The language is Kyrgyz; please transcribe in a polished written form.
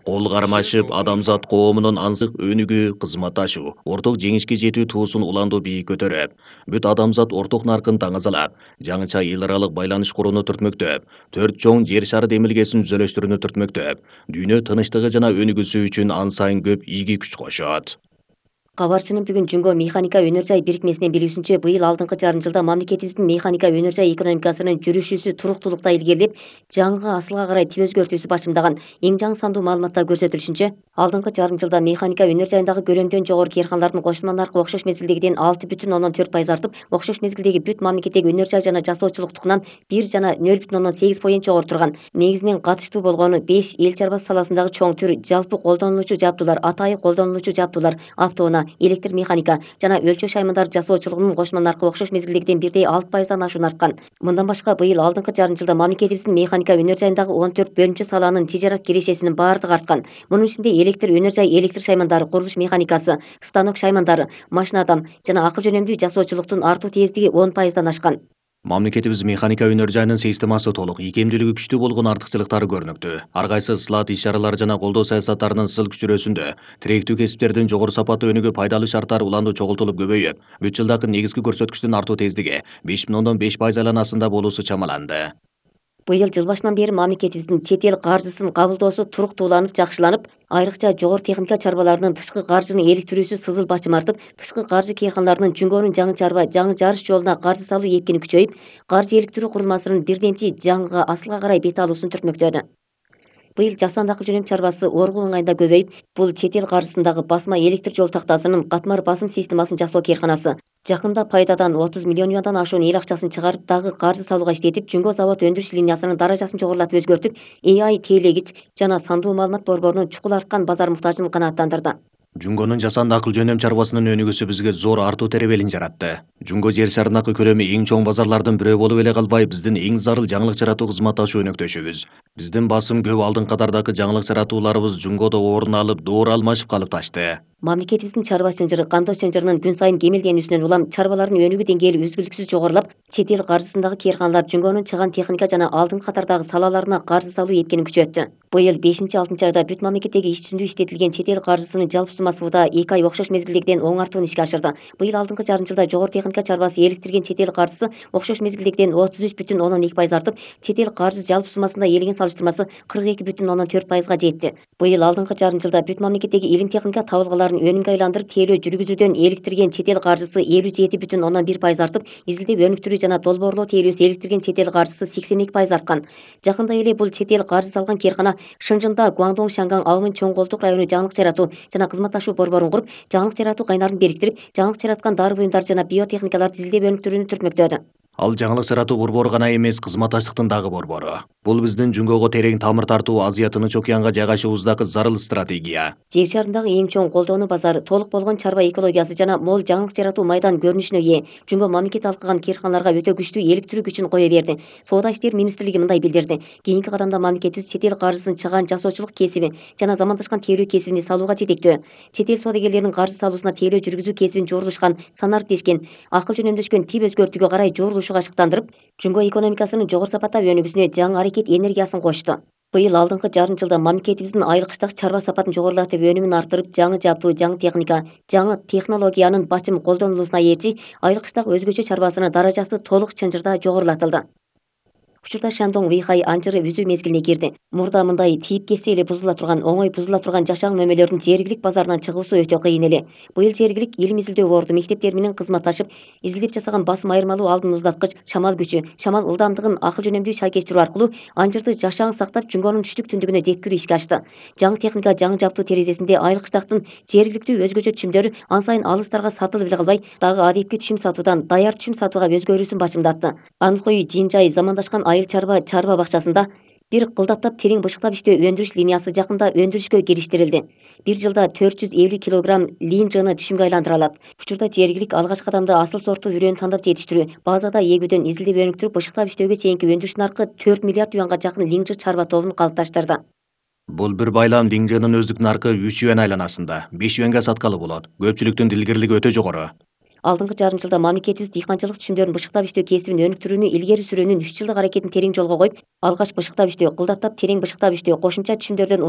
Кол кармашып, адамзат коомунун ансык өнүгүү, кызматташуу, орток жеңишке жетүү туусун уландуу бийик көтөрөп, бүт адамзат орток наркын таңазалап, жаңыча эл аралык байланыш курууну түртмөктөп, төрт чоң жер шары демилгесин түзөлүштүрүүнү түртмөктөп, дүйнө тынычтыгы жана өнүгүүсү үчүн ан сайын көп ийги күч кошот. Кабарчынын бүгүн Жунго механика өнөр жай бирикмесинин билүүсүнчө, быйыл алдыңкы жарым жылда мамлекетибиздин механика өнөр жай экономикасынын жүрүшүсү туруктуулукта илгерилеп, жаңыга асылга карай тип өзгөртүүсү башымдаган. Эң жаңы сандуу маалыматта көрсөтүлүшүнчө, алдыңкы жарым жылда механика өнөр жайындагы көлөмдөн жогору кыйрканалардын кошулма наркы окшош мезгилдегиден 6,4% артып, окшош мезгилдеги бүт мамлекеттеги өнөр жай жана жасоочулуктукунан 1 жана 0,8% жогору турган. Негизинен катыштуу болгону 5 эл чарбасы саласындагы чоң түр жалпы колдонулуучу жабдуулар, атайы колдонулуучу жабдуулар, автоунаа, электр механика жана өлчөө шаймандары жасоочулугунун кошулма наркы окшош мезгилдегиден 1,6%дан ашуун арткан. Мындан башка, быйыл алдыңкы жарым жылда мамлекетибиздин механика өнөр жайындагы 14 бөлүнчө салаанын тижарат кирешесинин баардыгы арткан. Мунун ичинде электр өнөр жай, электр шаймандары, курулуш механикасы, станок шаймандары, машинадан жана акыл жөнөмдүү жасоочулуктун артуу тездиги 10%дан ашкан. Мамлекетибиз механика өнөр жайынын системасы толук, ийкемдүүлүгү күчтүү болгон артыкчылыктары көрүнүктүү. Ар кайсы ысылат иш-чаралары жана колдоо саясаттарынын сыл күчүрөсүндө тиректүү кесиптердин жогору сапаттуу өнүгүү пайдалуу шарттары уланду чогултулуп көбөйүп, бүт жылдагы негизги көрсөткүчтүн артуу тездиги 5,5% айланасында болуусу чамаланды. Быйыл жыл башынан бери мамлекетибиздин чет эл каржысын кабылдоосу туруктууланып, жакшыланып, айрыкча жогору техника чарбаларынын тышкы каржыны иликтирүүсү сызыл бачым артып, тышкы каржы кыйрканаларынын Жунгонун жаңы чарба, жаңы жарыш жолуна каржы салуу эпкени күчөйүп, каржы иликтирүү курулмасынын бирденчи жаңыга асылга карай бет алуусун түртмөктөдү. Быйыл жасанды акыл жөнөм чарбасы Оргу ыңайында көбөйүп, бул чет эл каржысындагы басма электр жол тактасынын катмар басым системасын жасоо кыйрканасы. Жакында пайдадан 30 миллион юандан ашуун эл акчасын чыгарып, дагы каржы салууга иштетип, Жунго завод өндүрүш линиясынын даражасын жогорулатып өзгөртүп, AI тейлегич жана сандуу маалымат борборунун чукул арткан базар муктажын канааттандырды. Жунгонун жасанды акыл жөнөм чарбасынын өнүгүүсү бизге зор артуу теребелин жаратты. Жунго жер шарындагы көлөмү эң чоң базарлардын бирөө болуп эле калбай, биздин эң зарыл жаңылык жаратуу кызматташуу өнөктөшүбүз. Биздин басым көп алдыңкы катардагы жаңылык жаратууларыбыз Жунгодо орун алып, доор алмашып калыпташты. Мамлекетибиздин чарба чынжыры, кандоо чынжырынын күн сайын кемелденүүсүнөн улам чарбалардын өнүгүү деңгээли үзгүлтүксүз жогорулап, чет эл каржысындагы кыйрканалар Жунгонун чыган техника жана алдыңкы катардагы салаларына каржы салуу эпкенин күчөттү. Быйыл 5-6 айда бүт мамлекеттеги иш жүзүндө иштетилген чет эл каржысынын жалпы суммасы буда 2 ай окшош мезгилдегиден оң артуун ишке ашырды. Быйыл алдыңкы жарым жылда жогору техника чарбасы иликтирген чет эл каржысы окшош мезгилдегиден 33,2% артып, чет эл каржы жалпы суммасында элеген салыштырмасы 42,4%га жетти. Быйыл алдыңкы жарым жылда бүт мамлекеттеги илим техника табылгаларын өнүмгө айландырып, тейлөө жүргүзүүдөн иликтирген чет эл каржысы 57,1% артып, изилдеп өнүктүрүү жана долбоорлоо тейлөөсү иликтирген чет эл каржысы 82% арткан. Жакында эле бул чет эл каржы салган кыйркана Шынжында Гуандong Шанган Аумын чоң колдук району жаңылык жаратуу жана кызматташуу борборун куруп, жаңылык жаратуу кайнарын бириктирип, жаңылык жараткан дары буюмдар жана биотехникаларды изилдеп өнүктүрүүнү түртмөктөдү. Ал жаңылык жаратуу борбору гана эмес, кызматташтыктын дагы борбору. Бул биздин Жунгого терең тамыр тартуу, Азия Тынч океанга жайгашуубуздагы зарыл стратегия. Жер шарындагы эң чоң колдоону базары, толук болгон чарба экологиясы жана мол жаңылык жаратуу майдан көрүнүшүнө ээ. Жунго мамлекет алкаган кыйрканаларга өтө күчтүү иликтирүү күчүн кое берди. Соода иштери министрлиги мындай билдирди: кийинки кадамда мамлекетибиз чет эл каржысын чыгаан жасоочулук кесиби жана замандашкан тейлөө кесибини салууга жетектөө. Чет эл соодагерлеринин каржы салуусуна тейлөө жүргүзүү кесибин жорулушкан, санариптешкен, акыл жөнөмдөшкөн тип өзгөртүүгө карай жорулушууга ашыктандырып, Жунго экономикасынын жогору сапаттап өнүгүүсүнө жаңы аракет энергиясын кочту. Быйыл алдыңкы жарым жылда мамлекетибиздин айыл-кыштагы чарба сапатын жогорулатып, өнүмүн арттырып, жаңы жабдуу, жаңы техника, жаңы технологиянын бачым колдонулуусуна ээрчи, айыл-кыштагы өзгөчө чарбасынын даражасы толук чынжырда жогорулатылды. Учурда Шандong Вэйхай анжыры үзүү мезгилине кирди. Мурда мындай тийип кетсе эле бузула турган, оңой бузула турган жашаң мөмөлөрдүн жергилик базарынан чыгуусу өтө кыйын эле. Быйыл жергилик илим изилдөө борду мектептер менен кызматташып, изилдеп жасаган басым айырмалуу алдын уздаткыч, шамал күчү, шамал ылдамдыгын акыл жөнөмдүү шайкештирүү аркылуу анжырды жашаң сактап, Жунгонун түштүк түндүгүнө жеткирүү ишке ашты. Жаңы техника, жаңы жабдуу терезесинде айыл-кыштактын жергиликтүү өзгөчө түшүмдөрү ан сайын алыстарга сатылып эле калбай, дагы адепки түшүм сатуудан даяр түшүм сатууга өзгөрүүсүн башымдатты. Анхой Жинжай замандашкан айыл чарба бакчасында бир кылдаттап терең бышыктап иштөө өндүрүш линиясы жакында өндүрүшкө кириштирилди. Бир жылда 450 килограмм линжаны түшүмгө айландыра алат. Учурда жергилик алгачкы кадамда асыл сорттуу үрөөнү тандап жетиштирүү, базада эгүүдөн изилдеп өнүктүрүп, бышыктап иштөөгө чейинки өндүрүш наркы 4 миллиард юанга жакын линжы чарба тобун калыпташтырды. Бул бир байлам линжанын өздүк наркы 3 юан айланасында, 5 юанга саткалы болот. Көпчүлүктүн дилгирлиги өтө жогору. Алдыңкы жарым жылда мамлекетибиз дыйканчылык түшүмдөрүн бышыктап иштөө кесибин өнүктүрүүнү илгери сүрүүнүн 3 жылдык аракетин терең жолго коюп, алгач бышыктап иштөө, кылдаттап терең бышыктап иштөө, кошумча түшүмдөрдөн